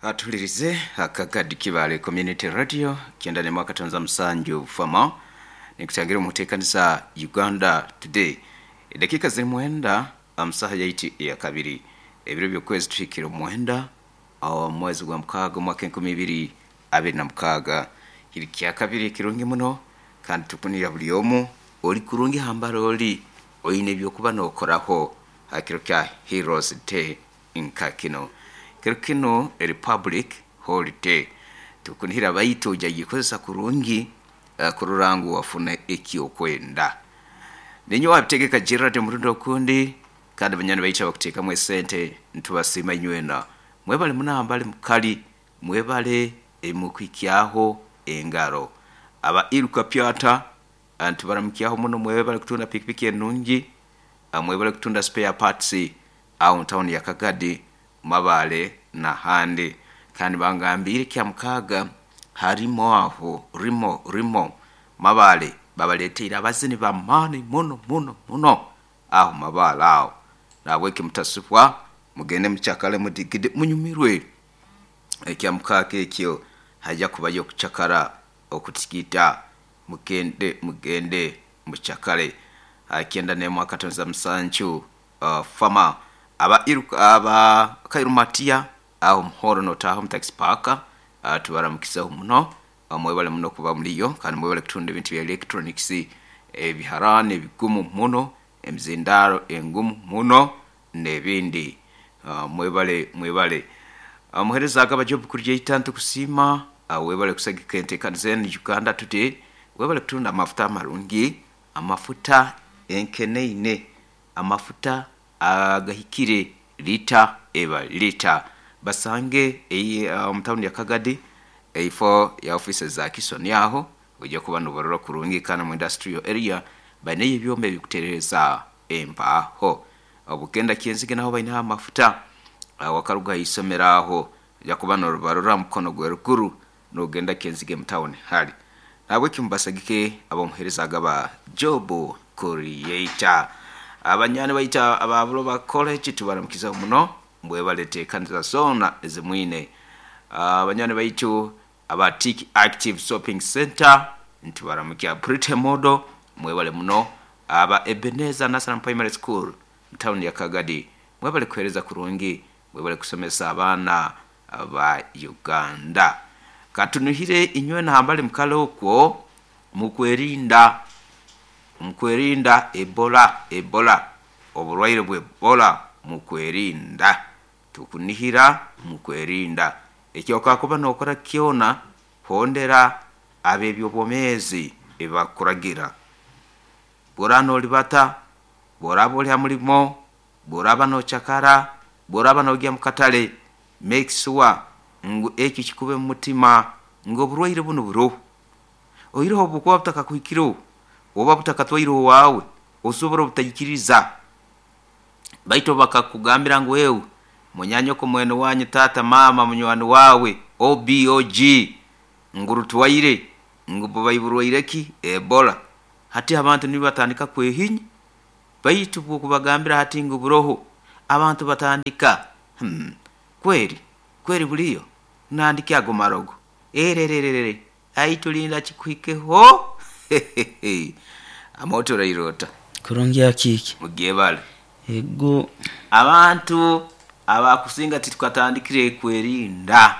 Atulirize akagadi Kibale Community Radio 91.7 fama nikutangira omuteekaniza Uganda Today. Edakiika ziri mwenda amusaha yaiti ya kabiri, ebiro by'okwezi tuhikire omwenda omwezi gwa mukaaga omwaka 2026. Kiri kyakabiri kirungi muno kandi tukunira buli omu oli kurungi hambara oli oine ebyokuba n'okoraho ha kiro kya Heroes Day nka kino. Kiro kinu eri public holiday, tukunihira baitu oija gikozesa kurungi kurora ngu wafuna ekyokwenda. Ninyowe wabitegeka Gerald omurundi okundi, kandi banywani baitu abakuteekamu esente nitubasiima inywena. Mwebale muno hambali mukali, mwebale ebimukuhikyaho engaro. Aba Iruka Pyata nitubaramukyaho muno, mwebale kutunda pikipiki enungi, mwebale kutunda spare parts aho mu tawuni ya Kagadi, Mabale n'ahandi. Kandi bangambiire Kyamukaaga harimo aho rimo rimo Mabale babaleeteire abazini b'amaani muno muno muno aho Mabale aho. Nahabweki mutasubwa, mugende mucakale mudigide munyumirwe. Ekyamukaaga ekyo haija kubayo okucakara okutigita. Mugende mugende mucakale. 91.7 fama aba Iruka aba Kairumatia aho Muhoro n'otaaha omu taxi park tubaramukizeho muno. Mwebale muno kuba muliyo kandi mwebale kutunda ebintu bya electronics, ebiharaani ebigumu muno, emizindaaro engumu muno n'ebindi. Mwebale mwebale. Omuheereza Agaba Job Kuryeita nitukusiima webale kusagika enteekaniza enu Uganda Today. Webale kutunda amafuta amarungi, amafuta enkeneine, amafuta agahikire lita eba lita. Basange omu tawuni ya Kagadi eifo ya ofiisi za Kisoni aho oija kuba nobarora kurungi kandi omu industrial area baineyo ebyoma ebikuterereza empaaho. Obugenda Kyenzige naho baineho amafuta, wakaruga ha isomero aho oija kuba nobarora mukono gweruguru nogenda Kyenzige mu tawuni hali. Nahabweki mubasagike ab'omuheereza Agaba Job Creator. Abanywani baitu aba Buloba College tubaramukizeho muno, mwebale teekaniza zoona ezi mwine. Abanywani baitu aba Tik Active Shopping Center nitubaramukya. Pretty Model mwebale muno. Aba Ebenezer National Primary School mu tawuni ya Kagadi mwebale kuheereza kurungi, mwebale kusomesa abaana ba Uganda. Katunuhire inywena hambali mukale okwo mukwerinda, mukwerinda Ebola, Ebola, oburwaire bwa Ebola mukwerinda. Tukunihira mukwerinda. Ekyokakuba nokora kyona, hondera ab'ebyobwomeezi ebibakuragira. Bworaba nolibata, bworaba oli ha mulimo, bworaba nocakara, bworaba nogya mu katale, make sure ngu ekyo kikube mu mutima ngu oburwaire bunu buroho. Oihireho obubukuba butakakuhikireho oba butakatwaire owaawe, osobora obutaikiriza. Baitu obu bakakugambira ngu ewe munyanyoko, mwene wanyu, taata, maama, munywani waawe, OBOG, ngu rutwaire, ngu bubai burwaire ki? Ebola. Hati abantu nibo batandika kwehinya. Baitu bw'okubagambira hati ngu buroho, abantu batandika, Hmm, kweri, kweri buliyo? Nandiki ago marogo? Erererere, ai tulinda kikuhikeho! Hehehe! Amooti oraire ota? Kurungi akiiki. Mugyebale. Ego. Abantu abakusinga titukatandikire kwerinda.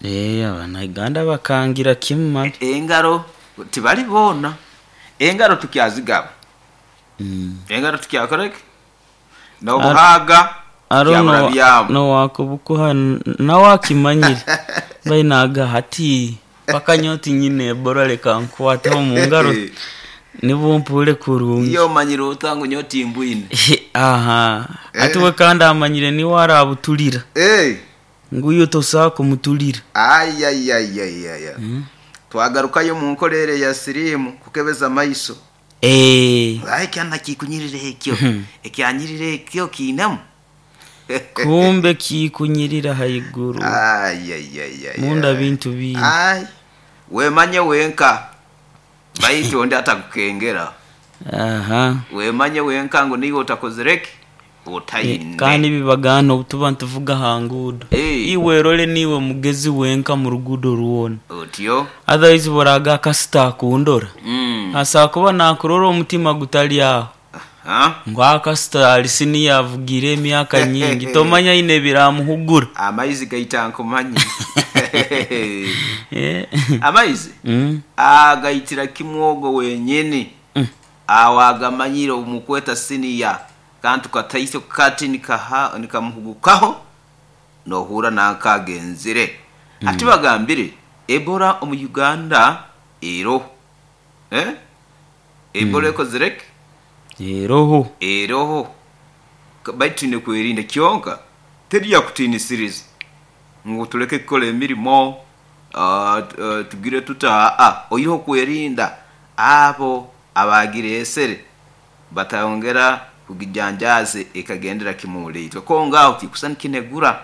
Eeh, Abanauganda bakangira kimu mali. Engaro tibali boona. Engaro tukyazigaba. Engaro tukyakora ki? N'obuhaaga Haroho tukyaburabyamu. n'owakubukuha nawe akimanyire mbaire naga hati paka nyowe tinyine Ebola leka nkukwateho omu ngaro nibwo mpurre kurungi. Iye omanyire ota ngu nyowe timbwine? Aha, hati we kandi amanyire niiwe arabutulira ngu iwe tosobola kumutulira. Ayayayayaya. Twagarukayo omu nkora ere eya siriimu kukebeza amaiso. Eeh. Aye kyana kikunyirira ekyo, ekyanyirira ekyo kiinemu. Kumbe kikunyirira haiguru. Ayayayaya. Munda bintu bingi. Ai, wemanye wenka, baitu ondi atakukengera. Aha. Wemanye wenka ngu niiwe otakozire ki? Otaine. Kandi bibagana obutuba nituvuga ha nguudo, iwe erole niiwe mugezi wenka mu ruguudo rwona. Otyo. Otherwise buraga akasita akundora, asobola kuba nakurora omutima gutali aho, ngu akasita ali siniya avugire emyaka nyingi, tomanya aine ebiramuhugura. Amaizi gaita nkumanye. Amaizi agaitira kimwe ogwo wenyini. Awo agamanyire omukweta siniya kantu kataito kati nikamuhugukaho nohura nankagenzire. Ati bagambire Ebola omu Uganda eroho. Ebola ekozire ki? Eroho. Eroho. Baitu twine kwerinda kyonka teri yakutiinisiriza ngu tuleke kukora emirimo, tugire tuta, oihireho kwerinda abo abagireesere batayongera kugijanjaaza ekagendera kimu omuli itwe. Konka aho tikusana nikinegura.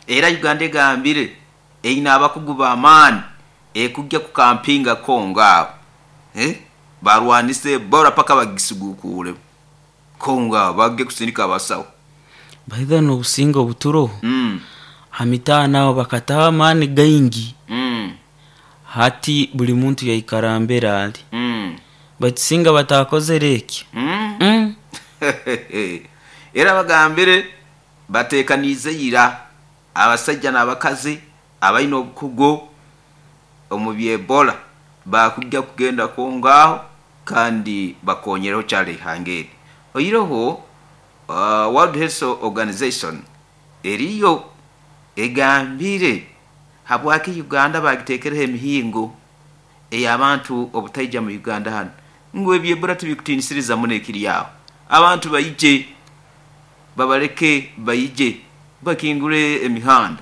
Era Uganda egambire eine abakugu b'amaani ekujja kukampinga Kongo aho, barwanise Ebola paka bagisiguukuuremu. Kongo aho bagye kusindika abasaho. Baitha n'obusinge obuturoho, ha mitaano aho bakataho amaani gaingi, hati buli muntu yaikara mbere ali. Baitu singa batakozere ekyo. Era bagambire bateekaniize ira abasaija n'abakazi abaine obukugu omu by'Ebola bakujja kugenda Kongo aho kandi bakonyereho kyaro eihanga eri. Oihireho World Health Organization eriyo egambire habwaki Uganda bagiteekereho emihingo ey'abantu obutaija mu Uganda hanu ngu eby'Ebola tibikutiinisiriza muno ekiri aho. Abantu baije, babaleke baije bakingure emihanda.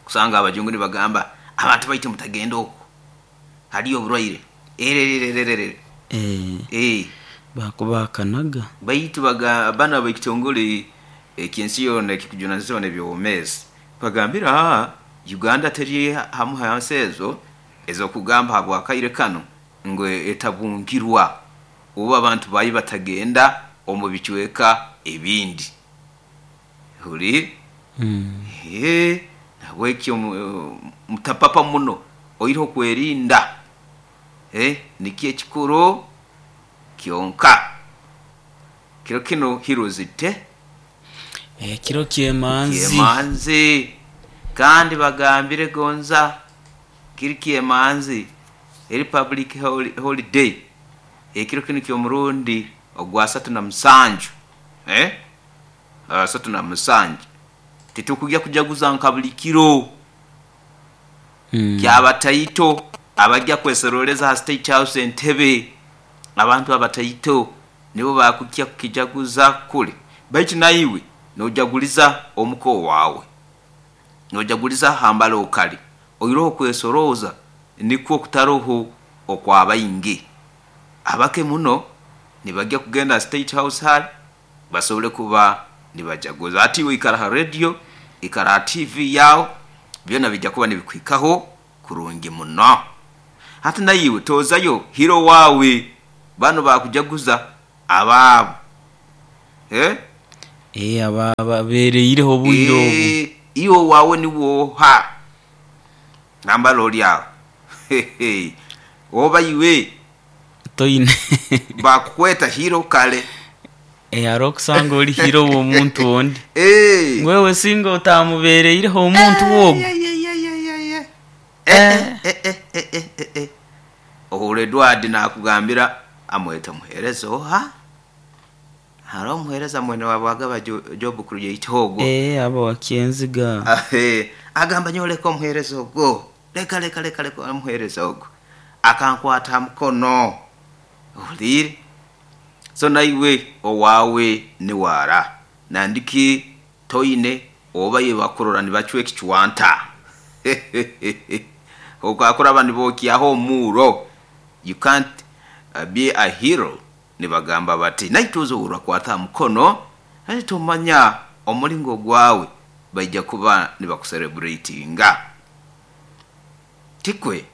Kusanga abajungu nibagamba abantu baitu mutagenda okwo haliyo oburwaire ererererere. Bakubakanaga. Baitu banu ab'ekitongole eky'ensi yoona ekikujunanizibwa n'eby'obwomeezi bagambire Uganda teri hamu ha nsi ezo ez'okugamba habw'akaire kanu ngu etabungirwa obu abantu baayo batagenda omu bicweka ebindi. Huriire? Nahabwekyo mutapapa muno oihireho kwerinda, nikyo ekikuru kyonka. Kiro kinu Heroes Day. Ekiro ky'emanzi. Ky'emanzi. Kandi bagambire gonza kiri ky'emanzi eri public holiday. Ekiro kinu ky'omurundi ogwa 37. 37. Titukujja kujaguza nka buli kiro. Kyabataito abajja kwesoroleza ha State House Entebbe, abantu abataito nibo bakujja kukijaguza kule. Baitu naiwe nojaguliza omuka owaawe, nojaguliza hambali okali, oihireho okwesorooza nikwo kutaroho okwabaingi. Abake muno nibajja kugenda ha State House hali basobole kuba nibajaguza. Hati iwe ikara ha rediyo, ikara ha tiivi yaawe, byona bijja kuba nibikuhikaho kurungi muno. Hati naiwe toozayo hiro waawe, banu bakujaguza abaabo. Ababeereireho obwire obu. Iwe owaawe niwe oha? Nambala ori aho. Oba iwe Toine. Bakukweta hiro kare. Hariho okusanga ori hiro w'omuntu ondi. Ngu iwe singa otamubeereireho omuntu ogwo. Ohurra Edward naakugambira amweta omuheereza oha? Hariho omuheereza mwene waabwe agaba Job Create ogwo. Aba wakyenziga. Agamba nyowe leka omuheereza ogwo. Leka leka leka leka omuheereza ogwo. Akankwata ha mukono. Ohuliire? So naiwe owaawe niwe ara. Nandiki toine oba iwe bakurora nibacwa ekicwanta. Okakuraba nibookyaho omuuro. You can't be a hero nibagamba bati naitwe oze orakwata ha mukono hati tomanya omulingo gwawe baija kuba nibakusereburetinga. Tikwe?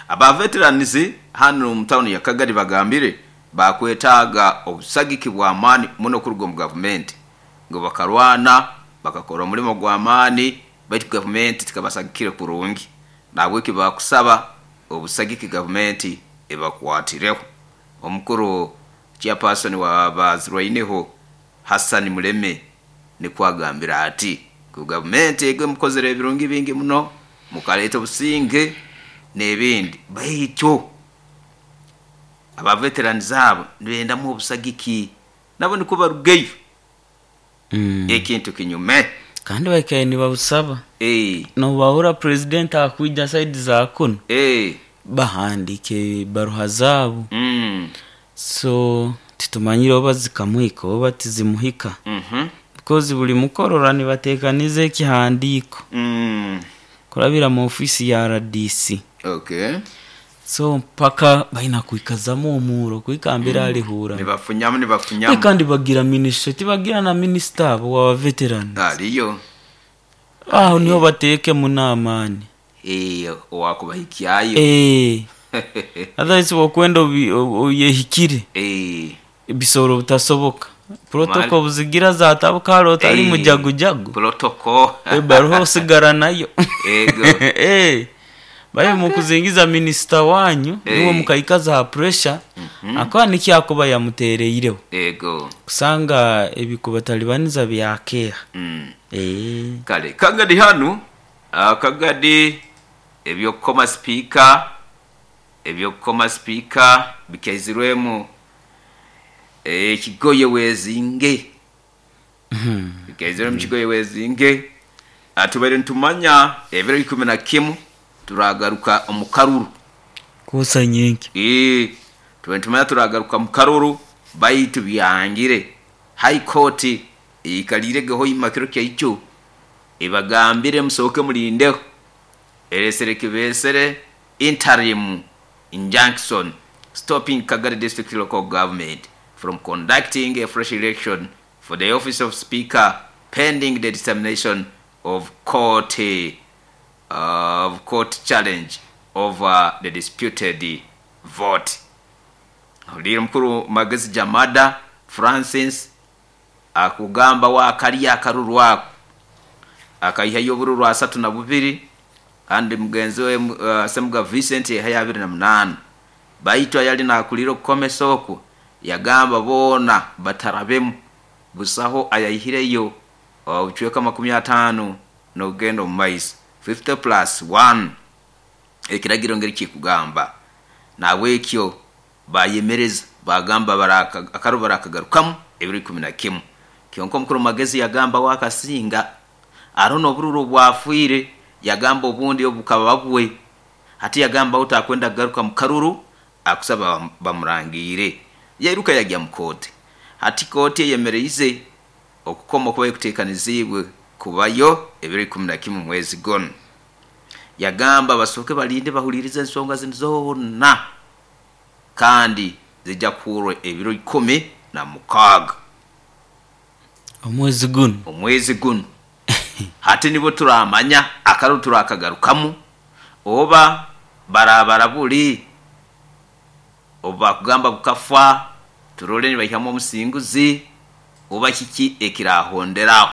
Aba veterans hanu omu tawuni ya Kagadi bagambire. Bakwetaaga obusagiki bw'amaani muno kuruga omu gavumenti, ngu bakarwana bakakora omulimo gw'amaani baitu gavumenti tikabasagikire kurungi. Nahabweki bakusaba obusagiki gavumenti ebakwatireho. Omukuru chairperson wa Bazirwaineho Hassan Muleme nikwo agambire ati ngu gavumenti ego emukozere ebirungi bingi muno, mukaleeta obusinge n'ebindi, baitu aba veterans abo nibendamu obusagiki nabo nikwo barugeyo ekintu kinyume. Kandi baikaire nibabusaba. Nobahura purezidenti akwija saidi za kunu, bahandiika ebaruha zaabo. So titumanyire oba zikamuhika oba tizimuhika. Because buli mukorora nibateekaniza ekihandiiko kurabira mu ofiisi ya RDC. So mpaka baina kwikazamu omuuro kuhika mbere alihura. Nibafunyamu nibafunyamu. Kandi bagira minisitule, tibagira na minisita abo wa veterans. Aliyo. Aho niho bateekemu n'amaani. Owakubahikyayo. Otherwise bwokwenda oyehikire, bisobora obutasoboka. Protocol buzigira zatabuka hali otali mujagujagu. Protocol. Ebaruha osigara nayo. Ego. Baye mukuzingiza minisita wanyu, niwe mukaikaza ha pressure, akuba nikyo akuba yamutereireho. Ego. Kusanga ebikubatalibaniza byakeha. Kale Kagadi hanu, Kagadi eby'okukoma sipiika, eby'okukoma sipiika bikaizirwemu ekigoye wezinge. Bikaizirwemu ekigoye wezinge. Tubaire nitumanya ebiro 11 turagaruka omu karuru. Kusa nyenki. Tubaire nitumanya turagaruka mu karuru baitu byangire. High Court eikaliiregeho ima kiro kyaicho ebagambire musooke mulindeho. Eresere kibesere interim injunction stopping Kagadi District Local Government from conducting a fresh election for the office of Speaker pending the determination of court challenge over the disputed vote. Ohuliire mukuru Magezi Jamada Francis akugamba wakalya akaruru ako akaihayo obururu 32 kandi mugenzi we Semuga Vincent yaihayo 28. Baitu ayali nakulira okukomesa okwo yagamba boona batarabemu, busaho ayaihireyo obucweka 50 n'okugenda omu maiso 50 plus 1 ekiragiro ngeri kikugamba. Nahabwekyo bayemereza bagamba akaruru barakagarukamu ebiro 11. Kyonka omukuru Magezi yagamba wakasinga hariho n'obururu obwafiire, yagamba obundi obukaba bwe. Hati yagamba takwenda kugaruka mu karuru, akusaba bamurangiire. Yairuka yajya mu kooti. Hati kooti eyemereize okukoma okuba ekuteekaniziibwe kubayo ebiro 11 mwezi gunu. Yagamba basooke balinde bahulirize ensonga zinu zoona kandi zijja kuhurwa ebiro 16. Omwezi gunu. Omwezi gunu. Hati nibo turamanya akaruru turakagarukamu oba barabara buli obubakugamba bukafa turole nibaihamu omusinguzi oba kiki ekirahonderaho.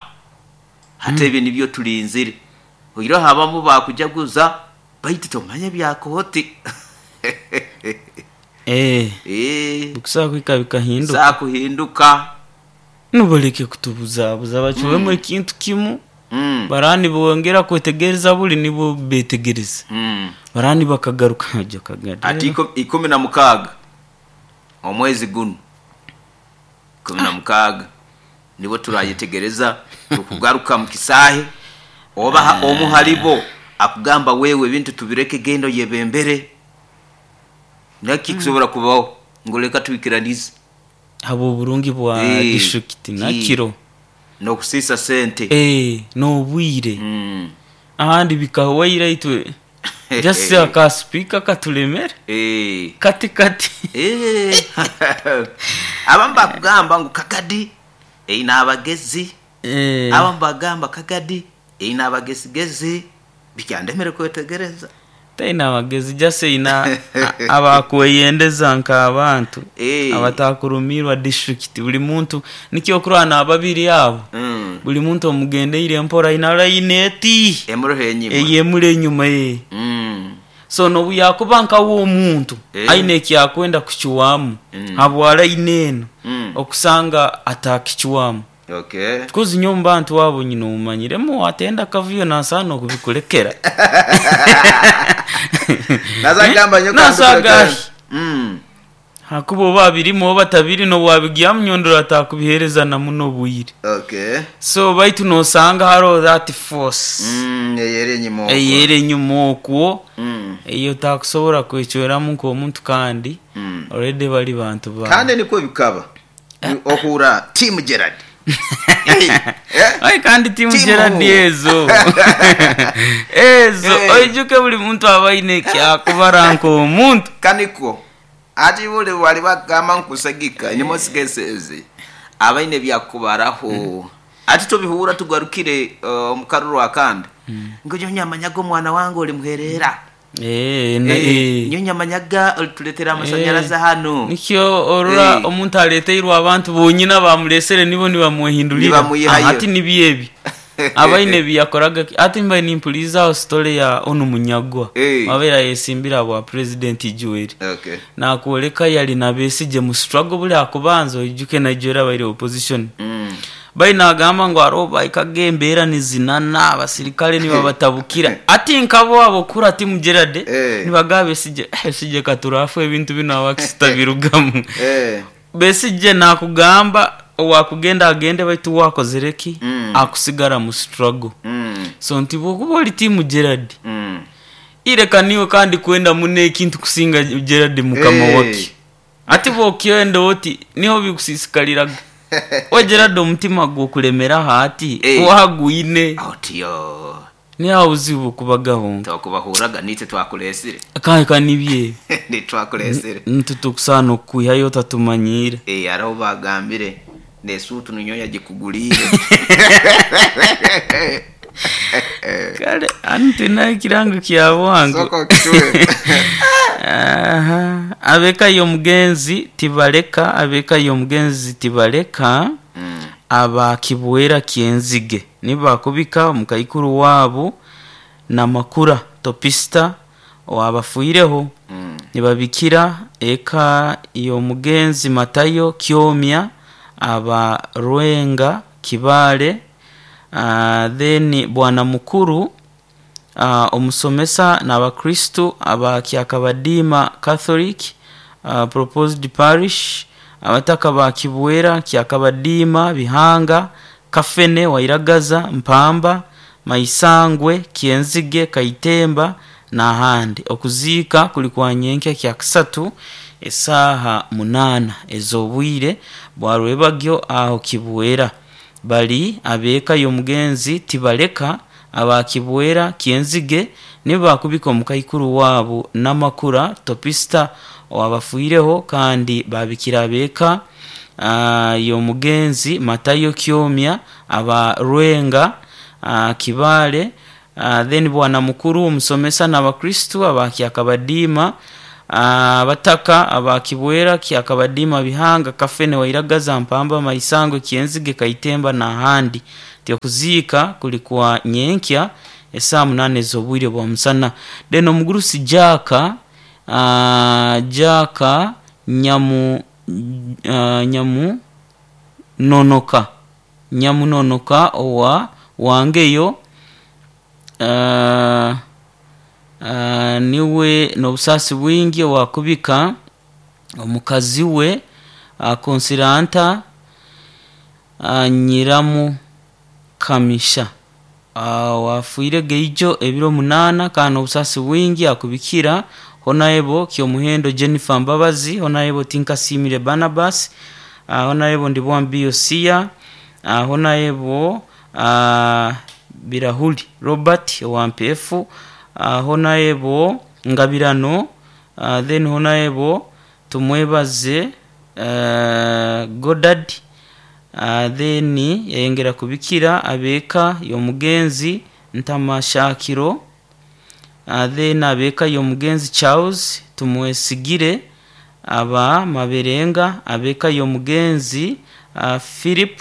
Hati ebyo nibyo tulinzire. Oihireho abamu bakujaguza baitu tomanya ebya kooti. Bikusobola kuhika bikahinduka. Bisobola kuhinduka. Nibaleke kutubuzabuza bacwemu ekintu kimu. Baraba nibongera kwetegereza buli nibo betegereza. Baraba nibakagaruka. Ati 16 omwezi gunu. 16 nibo turayetegereza tukugaruka mu kisaahe oba omu halibo akugamba wewe ebintu tubireke genda oyebembere. Naki kusobora kubaho ngu leka twikiranize. Habw'oburungi bwa district nakiro. N'okusiisa sente. N'obwire. Ahandi bikahwaire itwe. Just aka speaker katulemere. Kati kati. Abamu bakugamba ngu Kagadi eine abagezi. Abamu bagamba Kagadi eine abagezigezi. Bikyandemere kwetegereza. Taina amagezi, just aina abakweyendeza nk'abantu abatakurumirwa district. Buli muntu nikyo okurwana ababiri abo, buli muntu omugendeire mpora aina line eti emuroho enyima, eyemuli enyuma ye. So nobu yakuba nkawe omuntu aine ekyakwenda kucwamu habwa line enu, okusanga atakicwamu. Kozi nyowe omu bantu abo nyine omumanyiremu watenda kavuyo nasaana okubikulekera. Nazagamba nyo Nasaga kandi. Hakuba oba abirimu oba tabiri, nobu wabigyamu nyondora atakubihereza na muno obwire. So baitu nosanga haroho that force eyeri enyuma okwo. Eyeri enyuma okwo, eyo otakusobora kwecweramu nk'omuntu, kandi already bali bantu ba Kandi nikwo bikaba ohura Team Gerard. Hey, eh? Ai, kandi Team Team Gerard who? Ezo ezo oijuke buli muntu aba aine ekyakubara nk'omuntu. Kaniko ati buli wali bagamba nkusagika in most cases abaine byakubaraho, ati tubihura tugarukire omukaruru akandi ngo nyowe nyamanyaga omwana wange oli muherera. Nyowe nyamanyaga olituletera amasanyarazi hano. Nikyo orora omuntu aleteirwe abantu bonyina bamulesere nibo nibamwehindulira. Nibamuyihayo. Ati nibyo ebi abaine ebiyakoraga, ati mbaire nimpulirizaaho story ya onu munyagwa wabaire ayesimbira bwa President Joel. Nakwoleka yali na Besigye mu struggle buli akubanza, oijuke na Joel abaire opposition. Bai nagamba ngu aroho bahikaga embeera nizinana, abasirikale nibabatabukira, ati nkabo abo kura Team Gerard nibagamba Besigye, "Eh, Besigye katurafu ebintu binu abakisita birugamu." Besigye nakugamba owakugenda agende, baitu wakozere ki akusigara mu struggle. So nti bwokuba oli Team Gerard, ireka niwe kandi kwenda muno ekintu kusinga Gerard mukama wake. Ati bwokyenda oti niho bikusisikaliraga we Gerard omutima gwokulemeraho ati wagwine. Otiyo. Niho obuzibu bukubagaho. Twakubahuraga nitwe twakulesire. Kanka nibye. Nitwakulesire. Nitutukusaana okukwihayo otatumanyire. Hariho bagambire nesuutu ninyowe yagikugulire. Kale ani tulina ekirango kya bwangu. Soko okituwe. Aha. Abeka y'omugenzi tibaleka, abeka y'omugenzi tibaleka abakibwera kyenzige nibakubika omukaikuru waabo namakura topista owabafiireho, nibabikira eka y'omugenzi Matayo Kyomya aba Rwenga Kibaale, then bwana mukuru omusomesa n'abakristu aba Kyakabadiima Catholic Proposed Parish, abataka ba Kibwera Kyakabadiima Bihanga Kafene Wairagaza Mpamba Maisangwe Kyenzige Kaitemba n'ahandi. Okuziika kuli kwa nyenkya kya kasatu esaaha 8 ez'obwire bwa rwebagyo aho Kibwera. Bali ab'eka y'omugenzi tibaleka aba Kibwera Kyenzige nibakubika omukaikuru waabo namakura topista owabafiireho, kandi babikira ab'eka y'omugenzi Matayo Kyomya aba Rwenga Kibaale, then bwana mukuru omusomesa n'abakristu aba Kyakabadiima, abataka aba Kibwera Kyakabadiima Bihanga Kafene Wairagaza Mpamba Maisangwe Kyenzige Kaitemba n'ahandi. Ti okuziika kuli kwa nyenkya esaaha 8 ez'obwire bwa musana. Then omugurusi Jaka Jaka Nyamu Nyamu Nonoka Nyamunonoka owa Wangeyo, niwe n'obusaasi bwingi owakubika omukazi we Konsiranta Nyiramukamisha wafiire geijo ebiro 8, kandi n'obusaasi bwingi akubikira Honorable Kyomuhendo Jennifer Mbabazi, Honorable Tinkasimire Barnabas, Honorable Ndibwambi Yosia, Honorable Birahuli Robert owa MPF, Honorable Ngabirano, then Honorable Tumwebaze Godard, then yayongera kubikira abeka y'omugenzi Ntamashakiro. Then ab'eka y'omugenzi Charles Tumwesigire aba Maberenga, ab'eka y'omugenzi Philip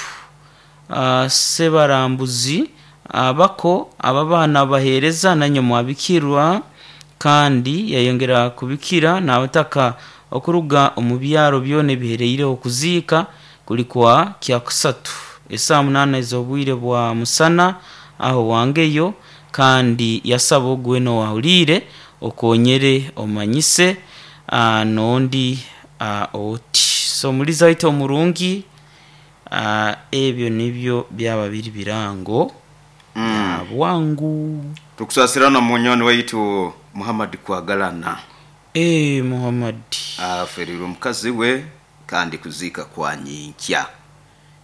Sebarambuzi, abako ababaana baheereza nanywe mwabikirwa, kandi yayongera kubikira n'abataka okuruga omu byaro byona ebihereire. Okuziika kuli kwa Kyakusatu esaaha 8 ez'obwire bwa musana aho wangeyo, kandi yasaba ogu weena owahuliire okonyere omanyise n'ondi oti. So omulizi waitu omurungi, ebyo nibyo byaba biri birango bya bwangu. Tukusasira na munywani waitu Muhammad Kwagalana. Muhammad. Aferirwe mukazi we kandi kuziika kwa nyinkya.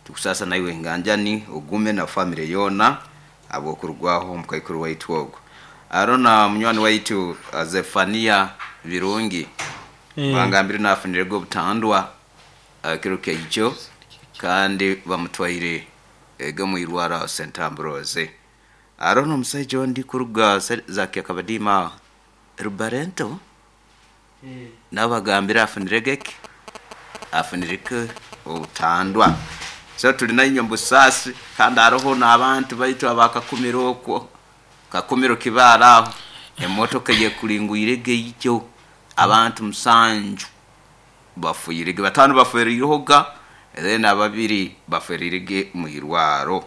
Tukusasa naiwe nganjani ogume na famire yoona habw'okurugwaho omukaikuru waitu ogu. Haroho na munywani waitu Zephania Birungi. Bangambire nafunirege obutandwa ekiro kyaijo kandi bamutwaire ege omu irwaro aho St Ambrose. Haroho n'omusaija ondi kuruga za Kyakabadiima aho Rubarento nawe bagambire afunirege ki? Afunireke obutandwa. So tuli nainywe omu busaasi kandi haroho n'abantu baitu aba Kakumiro okwo, Kakumiro Kibaale aho, emotoka eyekulingwirege ijo abantu 7 bafiirege, 5 bafereirehoga then ababiri baferirege mu irwaro.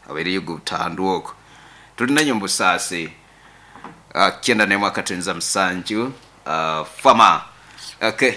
Habaireyo obutandwa okwo. Tuli nainywe omu busaasi. 91.7 Fama. Okay.